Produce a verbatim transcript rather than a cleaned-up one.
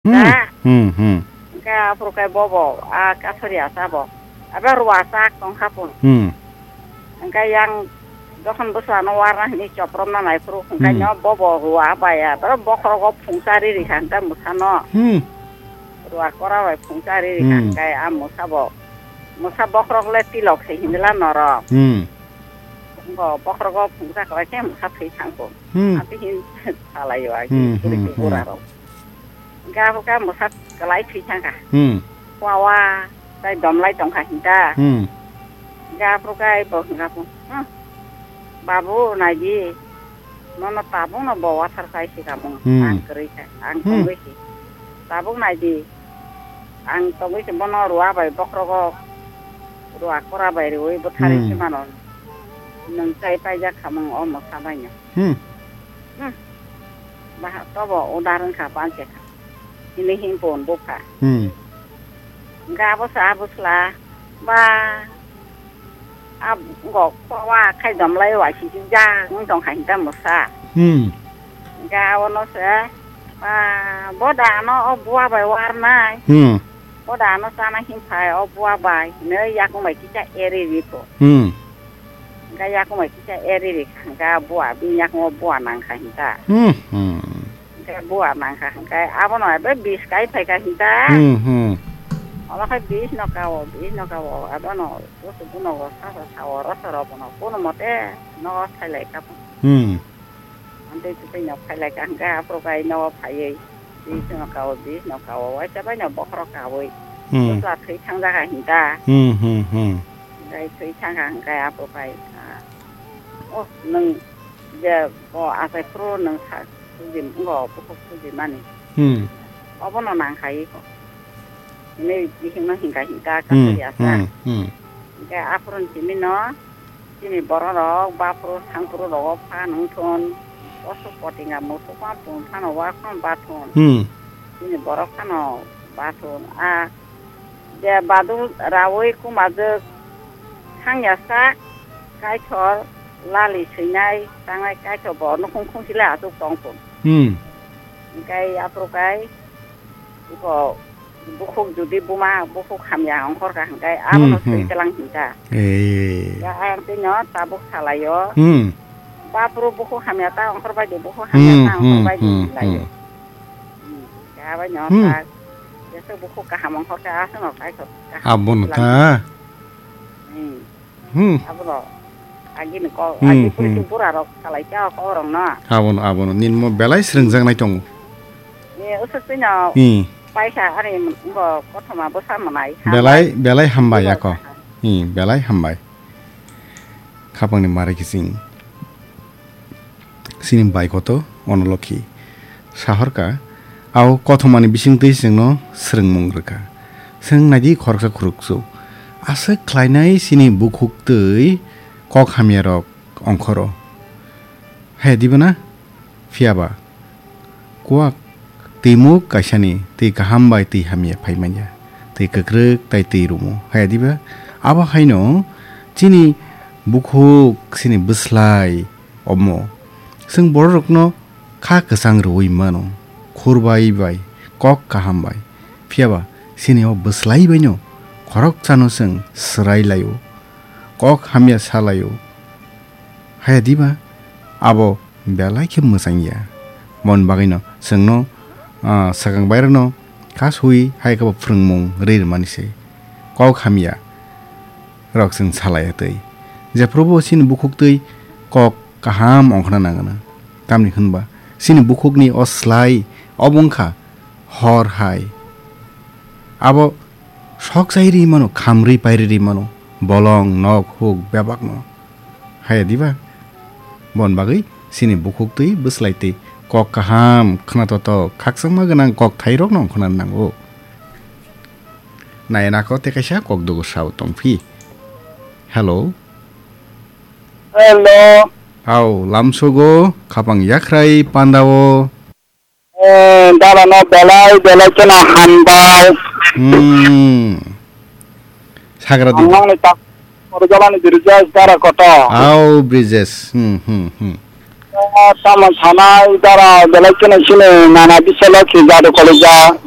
Hmm. Da? Hmm, hmm. Hwnkhe aphuru khe bobo a kathori asa bo. Abo rua chak tong kha pun. Hmm. Hwnkhe yang jokhon bwsano warna hwnwi chopropna nai phuru hwnkhe Hmm. no bobo rua bai a. Boro bokhrogo phungsa riri kha hwnkhe mwsano. Hmm. Rua kora bai phungsa riri kha Hmm. hwnkhe a mwsa bo. Mwsa bokhorok le tilok se hindila norok. Hmm. Bo bokhrogo phungsa khlai khe mwsa thwi thang pun. Hmm. Ati hin salai o ai Hmm, hmm, hmm. Bura rok. Hwnkhe aphuru khe mwsa kwlai thwi thang kha. Hmm. Wawa, tai domlai tong kha hinta. Hmm. Hwnkhe aphuru khe bo hwnkha phu, "Hmm, babu, nai di, nono tabukno bo wathar kai si kamung. Hmm. Ang kwrwi kha, ang Hmm. tongwi si. Tabuk nai di, ang tongwi si bono rua bai bokhrogo rua kora bai rwi bwtharwi Hmm. se mano. Nwng chai paijak khamung o mwsa baino." Hmm. Hmm. Baha tobo udar wngkha panche kha. Hini him pon bupha. Hmm. Ga bo sa bwsla. Ba. Ab go kwa khai dom lai wa si ja wng tong kha hinta mwsa. Hmm. Ga ono se. Ba. Bo da no o bua bai war nai. Hmm. Bo da no sana him phai o bua bai. Ne yakung bai kisa eri ri po. Hmm. Hwnkhe yakung bai kisa eri ri kha, hwnkhe bua bini yakung o bua nang kha hinta. Hmm, hmm. Hwnkhe bua nang kha, hwnkhe abono ebe bis kai phai kha hinta. Hmm, hmm. Omo khe bis no kao, bis no kao, abono busu buno go sa sa sao rosoro bono kono mote no thailai kha. Hmm. Amtwi twi no phai lai kha hwnkhe aphuru khe ai nogo phaiwi bis no kao, bis no kao, waisa bai no bokhorok kawi. Hmm. Bwsla thwi thang jaga hinta. Hmm, hmm, hmm. Hwnkhe thwi thang kha hwnkhe aphuru khe, ah, oh, nwng je bo achai phuru nwng sa suji, wngkha bukhuk suji mani. Hmm. Obono nang kha iko. Hinwi bihik no hingkha hinta Hmm, kathori asa. Hmm, hmm. Hwnkhe aphuru ni simi no Chini borok rok baphuru thangphuru rogo phan wngthun, osuk potinga musuk ma pung phano wa khon bathun. Hmm. Chini borok phano bathun. A je badung rawi kumajwk thangya sak kaithor lali swinai tangnai kaithor bo nukhung khungsi le achuk tongthun. Hmm. Hwnkhe aphuru kai Iko bukhuk judi buma bukhuk hamya ongkhor ka hwnkhe abono Hmm, hmm. Twi tlang hinta. Eh. Ya ayang twi no tabuk salaio. Hmm. Bapro bukhuk hamya ta ongkhor bai di bukhuk hamya Hmm, ta ongkhor hmm, bai di hmm, laio. Hmm. Hmm. Ya bai no Hmm. Ta. Jesa bukhuk kaham ongkhor ka asno kai ko. Abono ta. Hmm. Hmm. Abono agini kok Hmm, agi puri hmm. Bura rok salai cha kok rong no. Abono, abono. Nin mo belai srengjaknai tongo. Ni usuk tino Hmm. Paisa ani bo kothoma bwsa manai. Belai, belai hambai Ibo ako. Saha. Hmm, belai hambai. Khapangni mari kising. Chini bai koto Onolokhi sahorka, au kothomani bisingtwi chwngno swrwngmung rwkha. Chwng naidi khoroksa khurokso. Aswk khlainai chini bukhuk twi kok hamyarok ongkhoro. Hai diba na? Phiyaba kwak twimuk kaisani twi kaham bai twi hamya phaimanya. Twi kwkrwk tai twi rumo. Hai diba? Abo haino chini bukhuk, chini bwslai, Omo, chwng bororokno kha kwchang rwui mano, khurbai bai, kok kaham bai. Phiyaba chini o bwslai baino khorokchano chwng swrai laio, kok hamya sa laio. Haya diba? Abo belai khe mwchang ya. Mon bagwino chwngno, ah, swkang bairokno kha sui hai khe bo phrwngmung rwi rwmani se. Kok hamya. Rok chwng salai twi. Jephrubo chini bukhuk twi kok kaham ongkhorna nangna. Tamni hwnba chini bukhukni o slai obo wngkha hor hai. Abo sok chai ri mano, khamri pairi ri mano, bolong, nok, huk, bebakno. Haya diba? Bon bagwi chini bukhuk twi bwslai twi kok kaham, khna totok, khakchangma gwnang kok thairokno ongkhorna nango. Nai nako tei kaisa kok dugo sao tongphi. Hello. Hello. Hao, lamsogo, khapang yakhrai pandao. Eh, dala no belai, belai kheno hambai. Hmm. Sagra di. Ang nangni ta, Korjalani Birjas dara koto. Hao, Brijesh. Hmm, hmm, hmm. Tamo sanai dara belai kheno chini nana bisalo khi jadu kolija.